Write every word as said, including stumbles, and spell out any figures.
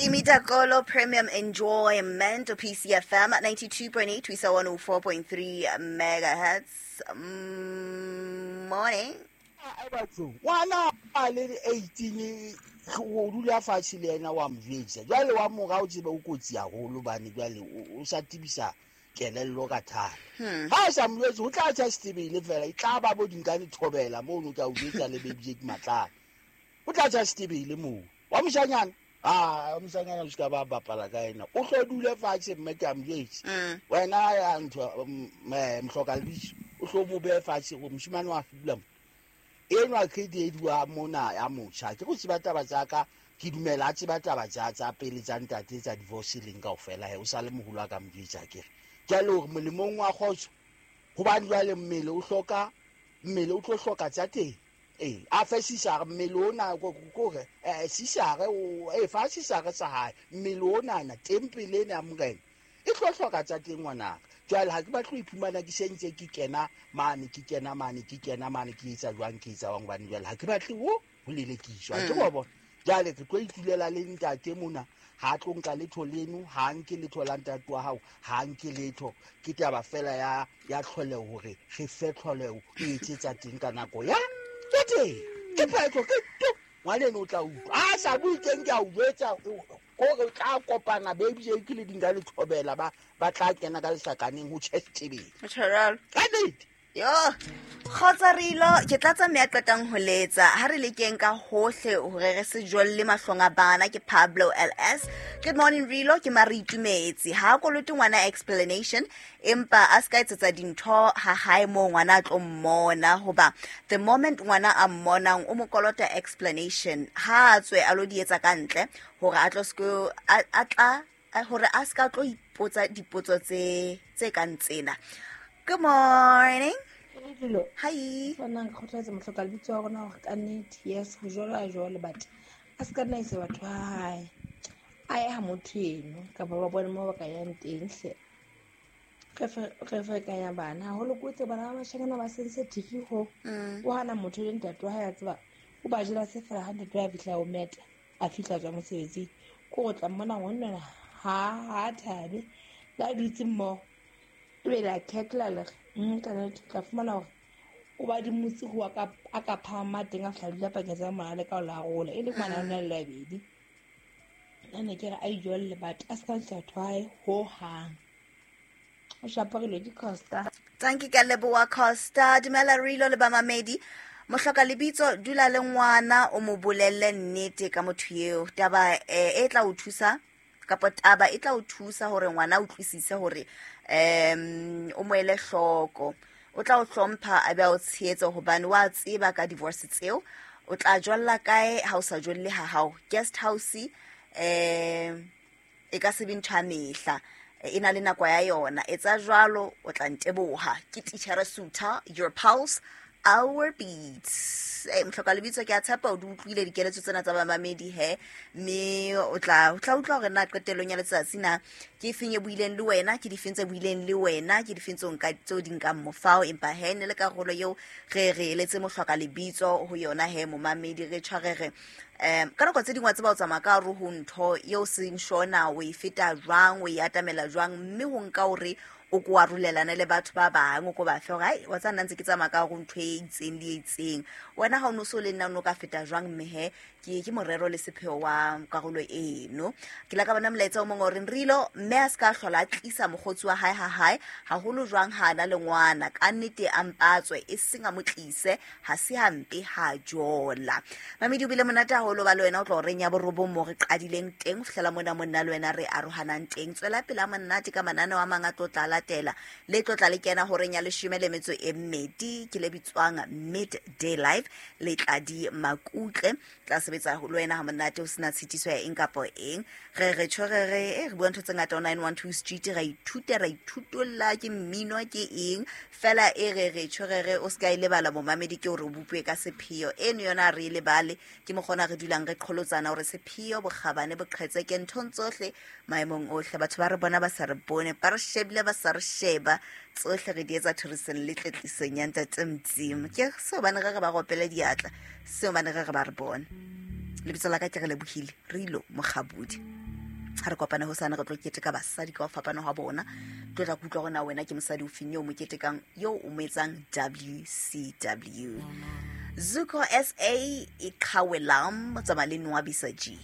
Timi Dakolo Premium Enjoyment P C F M at ninety-two point eight to one oh four point three megahertz. Morning. Ngwana a le eighteen go dula fatshe le yena wa mjwetsa jwale wa mora o tsebe o kotsi haholo bane jwale o sa tibisa kelello ka thata ha sa mjwetsa o tla tsa setebele fela e tla ba bo dinkane thobela mo no ka o jwetsa le baby Jake Matlana o tla tsa setebele mo wa moshanyana ah moshanyana o ska ba bapala ka yena o tlo dule fatshe mme ke a mjwetsa wena ya ntho mhloka lebitso o tlo mo be fatshe go moshimane wa dula mo enwa credit wa mona ya motjha ke go tseba taba tsa ka ke dumela a tseba taba tsa tsa pele tsa ntate tsa divorce leng kaofela he o sa le moholo a ka mjwetsa ke re jwale hore molemong wa kgotso hobane jwale mmele o hloka mmele o tlo hloka tsa teng eh a fe sisare mmele ona kore eh sisare o eh fa sisare sa hae mmele ona na tempele ena ya morena e tlo hloka tsa teng ngwana jwale ha ke batle ho iphumana ke sentse ke kena mane ke kena mane ke kena mane ke etsa jwang ke etsa jwang hobane jwale ha ke batle ho ho lelekiswa ke wa bona jwale ke tlo itulela le ntate mona ha tlo nka letho leno ha nke letho la ntate wa hao ha nke letho ke taba fela ya ya tlholeho hore re fe tlholeho e etsetsa teng ka nako ya ke teng ke phetho ke to ngwaneno o tla utlwa a sa bue teng ke a o jwetsa kore tla kopana baby Jake le dinga le thobela ba ba tla kena ka lehlakaneng ho tjhestebeng Tjhoralo ka nnete yo kgotsa Rilo ke tla tsamaya qetang ho letsa ha re lekeng ka hohle hore re se jolle mahlong a bana ke Pablo L S. Good morning Rilo ke mare itumetse ha kolote ngwana explanation empa a ska etsetsa dintho ha hae mo ngwana a tlo mmona hoba the moment ngwana a mmonang o mo kolota explanation ha a tswe a lo di etsa ka ntle hore a tlo sko a tla hore a ska tlo ipotsa dipotso tse tse kang tsena. Good morning. Hello. Hi. Bona nkgothatsa mohloka lebitso wa rona hore ka nnete yes ho jwalo a jwalo but a ska nna isa batho ha hae a ye ha motho eno kapa ba bone mo ba ka yang teng hle re re ferekanya bana haholo ko tse bana ba bashanyana ba sensitive ho o hana motho le ntate wa hae a tseba o ba jela se fela ha ntate wa fihla o meta a fihla tswa mosebetsing ko go tla mmona ngwanna ha ha thabe la dutse mmoho ebe la ketla le nka tla fumana hore o ba dimotse ho ka a ka phama teng a fihla dula pakeng tsa ngwana le ka o la rola e le ngwana o na le labedi nna ne ke re a ijolle but a se ka ntsha thwae ho hang o shaparile ke Costa. Thank you ka leboha Costa. Dumela Rilo le bamamedi mohloka lebitso dula le ngwana o mo bolelle nnete ka motho eo taba e tla o thusa kapa taba e tla o thusa hore ngwana a utlwisise hore um o mo ele hloko o tla o hlompha a be a o tshehetsa hobane wa tseba ka divorce tseo o tla jolla kae ha o sa jolle ha hao guest house um e ka se be ntho ya mehla e na le nako ya yona etsa jwalo o tla nteboha ke teacher Suta your pulse our beats. Eh mohloka lebitso ke a tshepa o di utlwile dikeletso tsena tsa bamamedi he mme o tla o tla utlwa hore na qetellong ya letsatsi na ke efeng e buileng le wena ke difeng tse buileng le wena ke difeng tseo nka tseo di nkang mofao empa he ne le karolo eo re re eletse mohloka lebitso ho yona he momamedi re tshwarere um ka nako tse dingwe tse ba o tsamaya ka hare ho ntho eo seng shona o e feta jwang o e atamela jwang mme ho nka hore o ko arolelana le batho ba bang o ko ba fe hore ai wa tsa nna ntse ke tsamaya ka hare ho ntho e itseng le e itseng wena ha o no so le nna o no ka feta jwang mme he ke ke morero le sepheo wa karolo eno ke la ka bona molaetsa o mongwe o reng Rilo mme a ska hlola a tlisa mokgotsi wa hae ha hae haholo jwang ha na le ngwana ka nnete a mpatswe e seng a mo tlise ha se hampe ha jola mamedi o bile monate haholo ba le wena o tlo reng ya borobong mo re qadileng teng ho fihlela mona monna le wena re arohanang teng tswela pele a monate ka mananeo a mang a tlo tla latela le tlo tla le kena horeng ya leshome le metso e mmedi ke le bitswang Midday Live le Tladi Makutle tla sebetsa ho le wena ha monate o sena tshitiso ya eng kapa eng re re tjho re re e re bua ntho tse ngata o nine one two Street ra ithuta ra ithutolla ke mmino ke eng fela e re re tjho re re o ska e lebala momamedi ke hore o bopue ka sepheo eno yona re e lebale ke mokgona re dulang re qholotsana hore sepheo bokgabane boqhetse ke nthong tsohle maemong ohle batho ba re bona ba sa re bone ba re shebile ba sa re sheba tsohle re di etsa thorisong le tletlisong ya ntate Modimo ke seo bane re re ba gopele diatla seo bane re re ba re bone lebitso la ka ke re lebohile Rilo Mokgabudi. Ha re kopane hosane, re tlo keteka basadi ka ho fapana ha bona. Tlo tla kutlwa hore na wena ke mosadi o feng eo mo ketekang, eo o mo etsang W C W. Zuko S A, Iqhawe Lam, tsamaya le Nwabisa G.